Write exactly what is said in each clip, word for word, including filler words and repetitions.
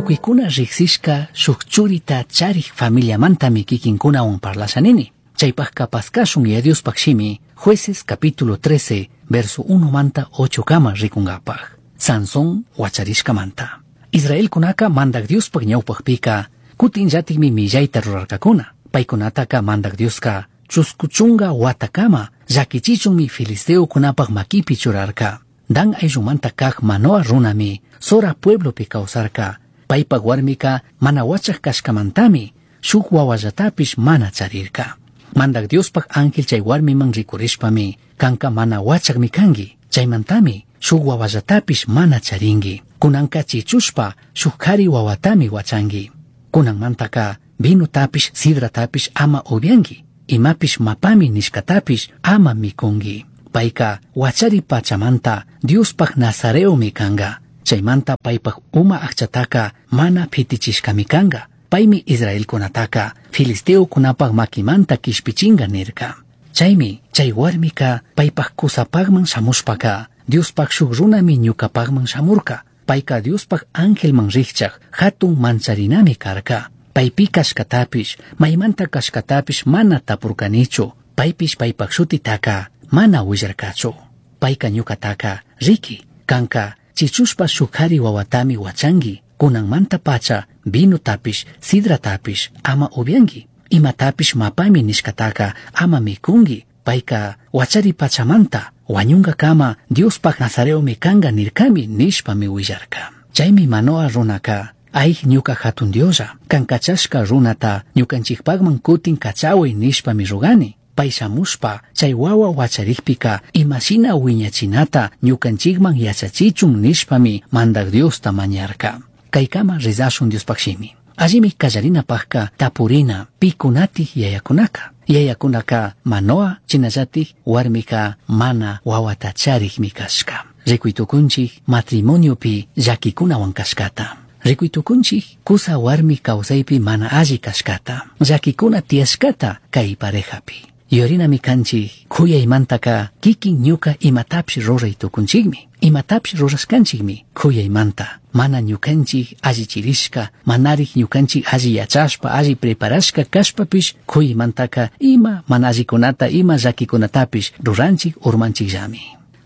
Tucuicuna rijsishca shuk churita charij familiamantami kikinkunawan parlasha nini. Chaypajka paskashun Yaya Diospaj shimi, Jueces capítulo trece, verso uno manta ocho kama rikungapaj. Sansón huacharishkamanta. Israelkunaka mandak Diospaj ñawpajpika, kutin llatikmi millayta rurarkakuna. Paykunataka mandak Dioska chuskuchunga watakama llakichichunmi filisteokunapaj makipi churarka. Dan ayllumanta kaj Manoa runami Zora pueblopi kawsarka. Paypaj warmika mana wachaj kashkamantami shuk wawallatapish mana charirka. Mandak Diospaj ángel chay warmiman rikurishpami kanka mana wachakmi kanki. Chaymantami shuk wawallatapish mana charinki. Kunanka chichushpa shuk kari wawatami wachanki. Kunanmantaka vinotapish sidratapish ama upyanki. Imapish mapami nishkatapish ama mikunki. Payka wachari pachamanta Diospaj nazareomi kanga. Chaymanta paypaj uma akchataka mana pitichishkami kanga. Paymi Israelkunataka filisteokunapaj makimanta kishpichinga nirka. Chaymi chay warmika paypaj kusapajman shamushpaka Diospaj shuk runami ñukapajman shamurka. Payka Diospaj angelman rikchaj hatun mancharinami karka. Paypi kashkatapish, maymanta kashkatapish mana tapurkanichu. Paypish paypaj shutitaka mana willarkachu. Payka ñukataka, riki, kanka chichushpa shuk kari wawatami wachanki. Kunanmanta pacha vinotapish, sidratapish ama upyanki. Imatapish mapami nishkataka ama mikunki. Payka wachari pachamanta wañunkakama Diospaj nazareomi kanga nirkami nishpami willarka. Chaymi Manoa runaka, ay ñuka hatun Dioslla, kan kachashka runata ñukanchikpakman kutin kachaway nishpami rugani. Pay shamushpa chay wawa wacharikpika imashina wiñachinata ñukanchikman yachachichun nishpami mandak Diosta mañarka. Kaykama rezashun Diospaj shimi. Allimi kallarinapajka tapurina pikunatik yayakunaka. Yayakunaka Manoa chinallatik warmika mana wawata charikmi kashka. Rikuytukunchik matrimoniopi llakikunawan kashkata. Rikuytukunchik kusa warmi kawsaypi mana alli kashkata. Llakikuna tiyashkata kay parejapi. Yuyarinami kanchik kuyaymantaka kikin ñuka imatapish ruray tukunchikmi. Imatapish rurashkanchikmi kuyaymanta. Mana ñukanchik allichirishka, manarik ñukanchik alli yachashpa, alli preparashka kashpapish kuyaymantaka ima mana allikunata, ima llakikunatapish ruranchik urmanchikllami.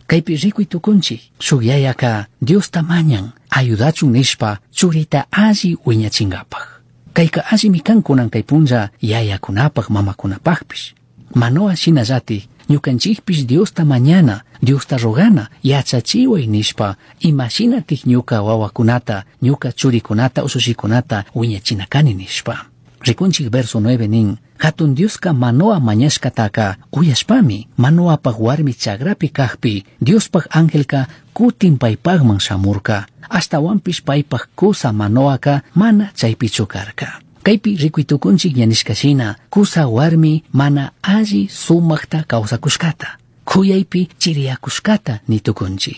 Kaypi rikuy tukunchik, shuk yayaka Diosta mañan, ayudachun nishpa churita alli wiñachinkapaj. Kayka allimi kan kunan kay punlla yayakunapaj, mamakunapajpish. Manoa shinallatik ñukanchikpish Diosta mañana, Diosta rogana, yachachiway nishpa imashinatik ñuka wawakunata, ñuka churikunata, ushushikunata wiñachina kani nishpa. Rikunchik verso nueve nin, hatun Dioska Manoa mañashkataka uyashpami, Manoapaj warmi chagrapi kajpi, Diospaj angelka kutin paypajman shamurka, ashtawanpish paypaj kusa Manoaka mana chaypichu karka. Kaypi rikuytukunchik ñanishkashina, kusa warmi mana alli sumakta kawsakushkata, kuyaypi chiriyakushkata nitukunchik.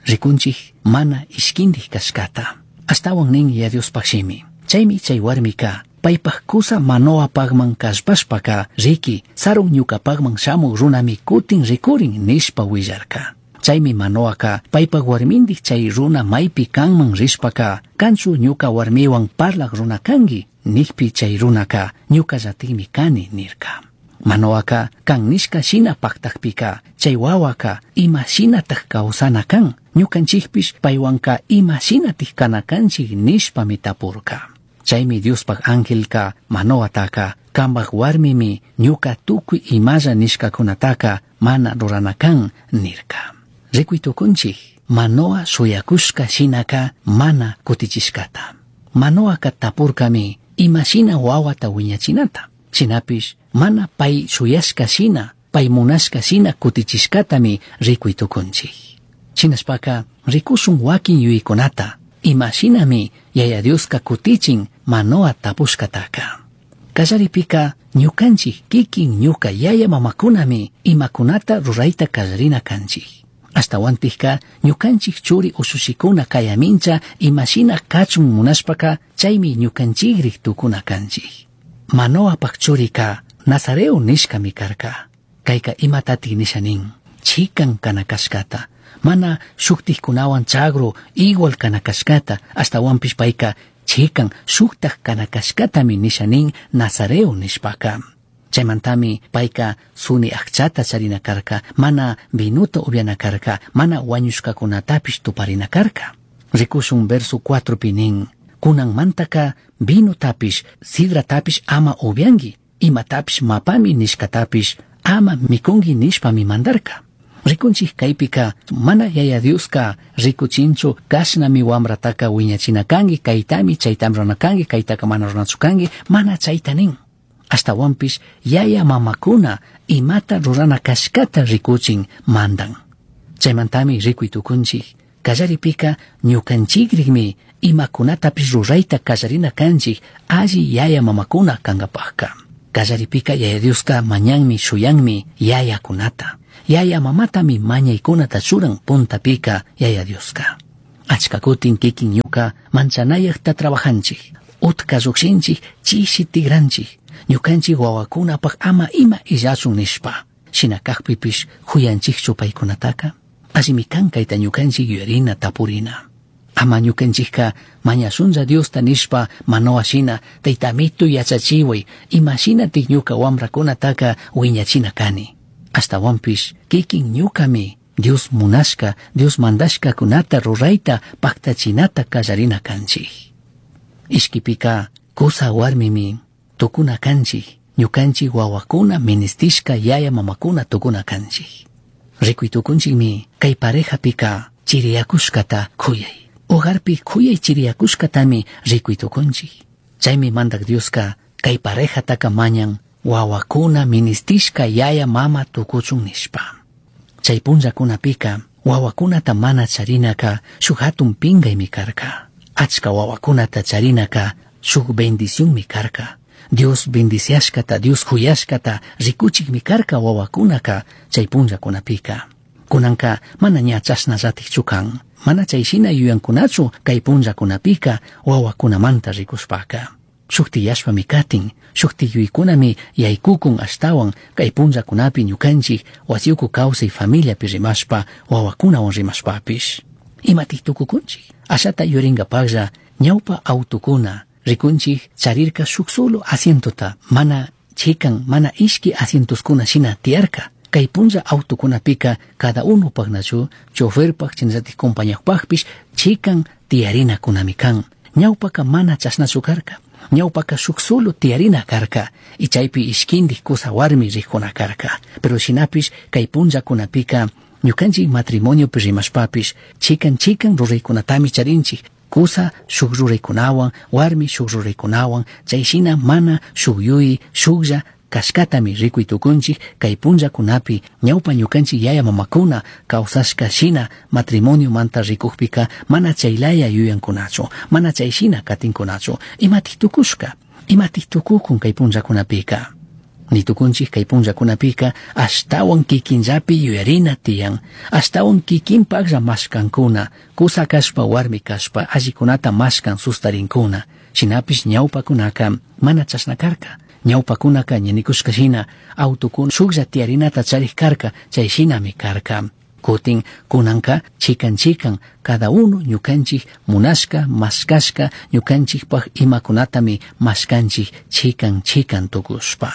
Rikunchik mana ishkindik kashkata. Ashtawan nin ya Diospaj shimi. Chaymi chay warmika paypaj kusa Manoapajman kallpashpaka, riki, sarun ñukapajman shamuk runami kutin rikurin nishpa willarka. Chaymi Manoaka paypaj warmindik chay runa maypi kanman rishpaka, kanchu ñuka warmiwan parlak runa kanki, nikpi chay runaka ñukallatikmi kani nirka. Manoaka kan nishka shina paktakpika, chay wawaka ima shinatak kawsana kan, ñukanchikpish paywanka ima shinatik kana kanchik nishpami tapurka. Chaymi Diospaj angelka Manoataka, kambaj warmimi ñuka tukuy imalla nishkakunataka mana rurana kan nirka. Rikuy tukunchik, Manoa shuyakushka shinaka mana kutichishkata. Manoaka tapurkami imashina wawata wiñachinata. Shinapish mana pay shuyashka shina, pay munashka shina kutichishkatami rikuy tukunchik. Shinashpaka rikushun wakin yuyaykunata, imashinami Yaya Dioska kutichin Manoa tapushkataka. Kallaripika ñukanchik kikin ñuka yaya mamakunami imakunata rurayta kallarina kanchik. Ashtawantikka ñukanchik churi ushushikuna kayamincha imashina kachun munashpaka chaymi ñukanchikrik tukuna kanchik. Manoapaj churika Nazareo nishkami karka. Kayka imatatik nisha nin, chikan kana kashkata, mana shuktikkunawan chagru igual kana kashkata, ashtawanpish payka Chikan shuktaj kana kashkatami nisha nin nazareo nishpaka. Chaymantami payka suni akchata charina karka, mana vinuta upiana karka, mana wañushkakunatapish tuparina karka. Rikushun verso cuatropi nin, kunanmantaka vinotapish, sidratapish ama upianki, imatapish mapami nishkatapish ama mikunki nishpami mandarka. Rikunchik kaypika mana Yaya Dioska rikuchinchu kashnami wamrataka wiñachina kanki, kaytami chaytami rurana kanki, kaytaka mana ruranachu kanki, mana chayta nin. Ashtawanpish yaya mamakuna imata rurana kashkata rikuchin mandan. Chaymantami rikuy tukunchik, kallaripika ñukanchikrikmi imakunatapish rurayta kallarina kanchik alli yaya mamakuna kankapajka. Kallaripika Yaya Dioska mañanmi shuyanmi yayakunata. Yaya mamatami mañaykunata churan puntapika Yaya Dioska. Achka kutin kikin ñuka manchanayakta trabajanchik, utka llukshinchik, chishi tigranchik, ñukanchik wawakunapaj ama ima illachun nishpa. Shina kajpipish huyanchikchu paykunataka? Allimi kan kayta ñukanchik yuyarina tapurina. Ama ñukanchikka mañashunlla Diosta nishpa Manoa shina taytamitu yachachiway imashinatik ñuka wamrakunataka wiñachina kani. Ashtawanpish kikin ñukami Dios munashka, Dios mandashkakunata rurayta paktachinata kallarina kanchik. Ishkipika kusa warmimi tukuna kanchik, ñukanchik wawakuna ministishka yaya mamakuna tukuna kanchik. Rikuy tukunchikmi kay parejapika chiriyakushkata kuyay. Hogarpi kuyay chiriyakushkatami rikuy tukunchik. Chaymi mandak Dioska kay parejataka mañan wawakuna ministishka yaya mama tukuchun nishpa. Chay punllakunapika wawakunata mana charinaka shuk hatun pinkaymi karka. Achka wawakunata charinaka shuk bendicionmi karka. Dios bendiciashkata, Dios huyashkata rikuchikmi karka wawakunaka chay punllakunapika. Kunanka mana ña chashnallatikchu kan. Mana chay shina yuyankunachu kay punllakunapika wawakunamanta rikushpaka. Shukti yashpami katin, shukti yuykunami yaykukun ashtawan kay punllakunapi ñukanchik wasiyuku kawsay familiapi rimashpa wawakunawan rimashpapish. Imatik tukukunchik? Ashata yurinkapaklla ñawpa autukuna rikunchik charirka shuk solo asientota, mana chikan, mana ishki asientoskuna shina tiyarka. Kay punlla autokunapika cada uno paknachu, choferpak, chinallatik compañaqpaqpish chikan tiyarinakunami kan. Ñawpaka mana chashnachu karka. Ñawpaka shuk solo tiyarina karka y chaypi ishkindik kusa warmi rikuna karka. Pero shinapish kay punllakunapika ñukanchik matrimoniopi rimashpapish chikan chikan ruraykunatami charinchik. Kusa shuk ruraykunawan, warmi shuk ruraykunawan, chay shina mana shuk yuyi, shuklla kashkatami rikuy tukunchik kay punllakunapi ñawpa ñukanchik yaya mamakuna kawsashka shina matrimoniomanta rikukpika mana chaylaya yuyankunachu, mana chay shina katinkunachu. Imatik tukushka, imatik tukukun kay punllakunapika. Nitukunchik kay punllakunapika ashtawan kikinllapi yuyarina tiyan, ashtawan kikinpaklla mashkankuna, kusa kashpa warmi kashpa allikunata mashkan sustarinkuna. Shinapish ñawpakunaka mana chashna karka. Ñawpakunaka ñanikushka shina autukuna shuklla tiyarinata charik karka, chay shinami karka. Kutin kunanka chikan chikan cada uno ñukanchik munashka mashkashka ñukanchikpaj imakunatami mashkanchik chikan chikan tukushpa.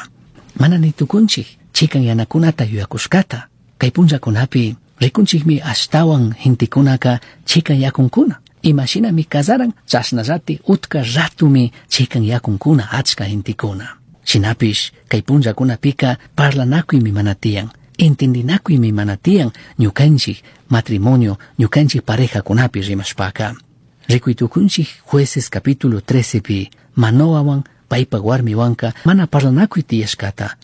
Mana ni tukunchik chikan yanakunata yuyakushkata. Kay punllakunapi rikunchikmi ashtawan gentekunaka chikan yakunkuna. Imashinami kasaran chashnallati utka ratumi chikan yakunkuna achka gentekuna. Shinapish kay punllakunapika parlanakuymi mana tiyan, entendinakuymi mana tiyan ñukanchik matrimonio, ñukanchik parejakunapi rimashpaka. Rikuy tukunchik Jueces capítulo trece pi Manoawan paypa warmiwanka mana parlanakuy tiyashkata.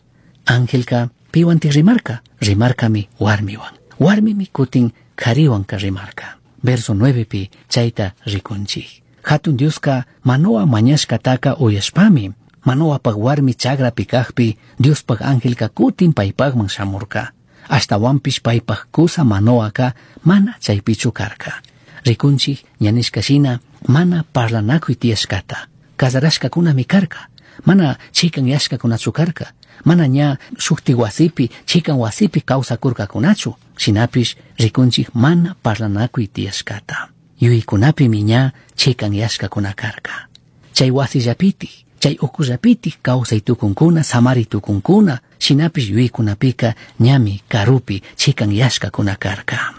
Angelka piwantik rimarka, rimarkami warmiwan. Warmimi kutin kariwanka rimarka. Verso nueve pi chayta rikunchik. Hatun Dioska Manoa mañashkataka uyashpami Manoapaj warmi chagrapi kajpi Diospaj angelka kutin paypajman shamurka. Ashtawanpish paypaj kusa Manoaka mana chaypichu karka. Rikunchik ñanishka shina mana parlanakuy tiyashkata. Casarashkakunami karka. Mana chikan yashkakunachu karka. Mana ña shukti wasipi, chikan wasipi kawsakurkakunachu. Shinapish rikunchik mana parlanakuy tiyashkata. Yuykunapimi ña chikan yashkakuna karka. Chay wasillapitik, chay ukullapitik kawsay tukunkuna, samari tukunkuna, shinapish yuyaykunapika ñami karupi chikanyashkakuna karka.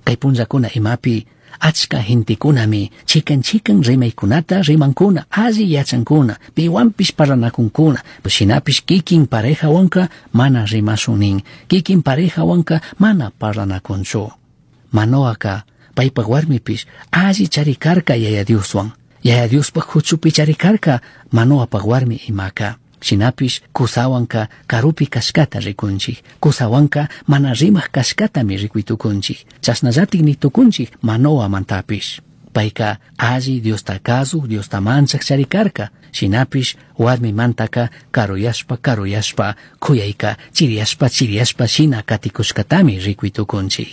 Kay punllakuna imapi achka gentekunami chikan chikan rimaykunata rimankuna, alli yachankuna, piwanpish parlanakunkuna, shinapish kikin parejawanka mana rimashun nin, kikin parejawanka mana parlanakunchu. Manoaka paypak warmipish alli charikarka Yaya Dioswan, Yaya Diospak huchupi charikarka Manoapak warmi imaka. Shinapish kusawanka karupi kashkata rikunchik, kusawanka mana rimak kashkatami rikuy tukunchik, chashnallatik ni tukunchik Manoamantapish. Payka alli Diosta kazuk, Diosta manchak charikarka, shinapish warmimantaka karuyashpa karuyashpa kuyayka chiriyashpa chiriyashpa shina katikushkatami rikuy tukunchik.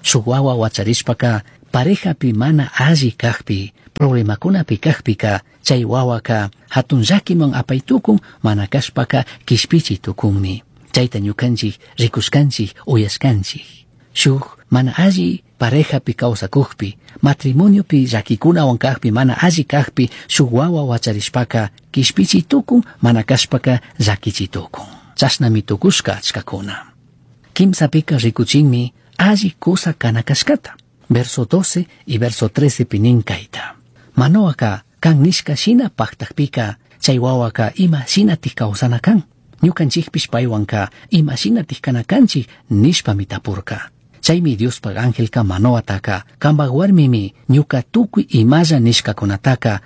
Shuk wawa wacharishpaka parejapi mana alli kakpi, problemakunapi kakpika, chay wawaka hatun llakiman apay tukun, mana kashpaka kishpichi tukunmi. Chayta ñukanchik rikushkanchik, uyashkanchik. Shuk mana alli parejapi kawsakukpi, matrimoniopi llakikunawan kakpi, mana alli kakpi, shuk wawa wacharishpaka kishpichi tukun, mana kashpaka llakichi tukun. Chashnami tukushka achkakuna. Kimsapika rikuchinmi alli kusa kana kashkata. Verso doce y verso trece pi nin kayta. Manoaka kan nishka shina paktakpika, chay wawaka ima shinatik kawsana kan. Ñukanchikpish paywanka ima shinatik kana kanchik nishpami tapurka. Chaymi Diospak angelka Manoataka, kampak warmimi ñuka tukuy imalla nishkakunataka